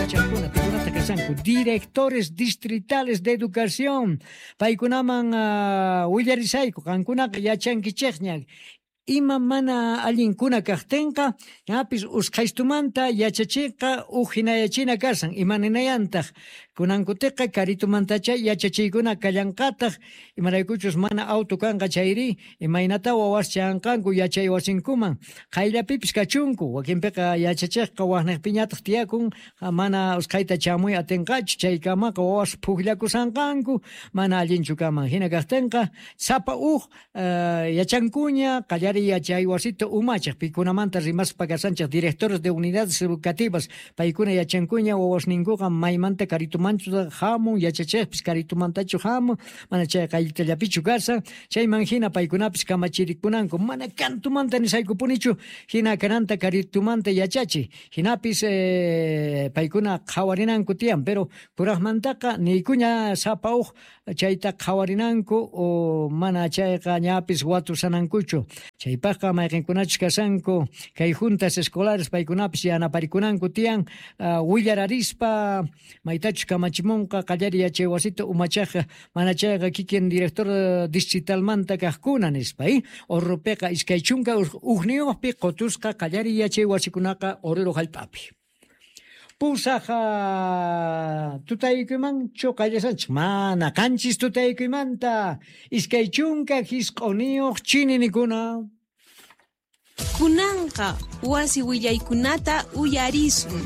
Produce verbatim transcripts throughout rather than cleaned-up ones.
Yachaqkuna pikunata kashanku directores distritales de educación paykunaman uh, willarisayku qankunaqa yachankichikña ima mana allinkuna kaqtinqa ñapis usqhaystumanta yachachiqa uj hinayachina kasan imaninayantaq kunankutiqa karitumantacha yachachiykuna kallanqataq imaraykuchus mana auto kanqa chayri imaynata wawas chanqanku yachay wasinkuman qayllapipis kachunku wakinpiqa yachachiqqa waqniqpiñataq tiyakun mana usqhayta chamuy atinqachu chaykamaqa wawas pukllakusanqanku mana allinchu kaman hina kaqtinqa sapa uj uh, yachankuña qallari yachay wasita umachaq pikunamanta rimaspa kasanchaq directores de unidades educativas paykuna yachankuña wawasninkuqa maymanta karitumanchu hamun yachachiqpis karitumantachu hamun mana chay qayllitallapichu kasan chayman hina paykunapis kamachirikunanku mana kantumanta nisaykupunichu hina kananta karitumanta yachachi hinapis eh, paykuna qhawarinanku tiyan pero kuraqmantaqa niykuña sapa uj chayta qhawarinanku o mana chayqa ñapis watusanankuchu chaypaqqa mayqinkunachus kasanku kay juntas escolares paykunapis yanaparikunanku tiyan uh, willararispa maytachus kamachimunqa qallari yachay wasita umachaqqa mana chayqa kikin director distritalmanta kaqkuna nispa eh? Orropiqa iskay chunka ujniyuqpi qotusqa qallari yachay wasikunaqa Oruro hallp'api. Pusaq tutaykuman chuqallasanchik mana qanchis tutaykuymanta iskay chunka hisq'uniyuq chininikuna. Kunanqa wasi willaykunata uyarisun.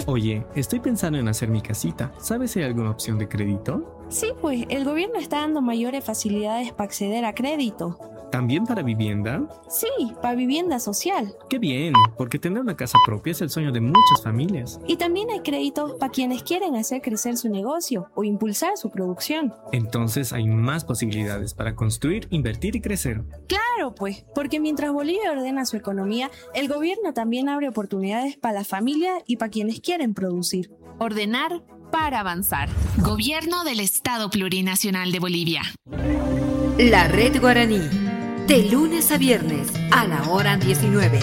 Oye, estoy pensando en hacer mi casita. ¿Sabes si hay alguna opción de crédito? Sí, pues el gobierno está dando mayores facilidades para acceder a crédito. ¿También para vivienda? Sí, para vivienda social. ¡Qué bien! Porque tener una casa propia es el sueño de muchas familias. Y también hay créditos para quienes quieren hacer crecer su negocio o impulsar su producción. Entonces hay más posibilidades para construir, invertir y crecer. Claro, pues, porque mientras Bolivia ordena su economía, el gobierno también abre oportunidades para la familia y para quienes quieren producir. Ordenar para avanzar. Gobierno del Estado Plurinacional de Bolivia. La Red Guaraní. De lunes a viernes a la hora diecinueve.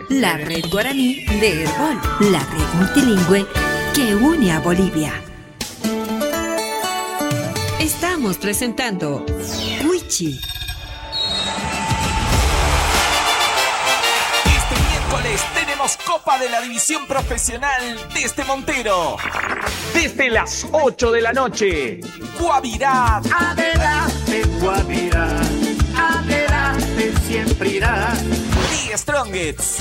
La Red Guaraní de Herbol, la red multilingüe que une a Bolivia. Estamos presentando Wichi. Este miércoles tenemos Copa de la División Profesional desde Montero. Desde las ocho de la noche. Guabirá. Adelante, Guabirá. Adelante, siempre irá. The Strongest.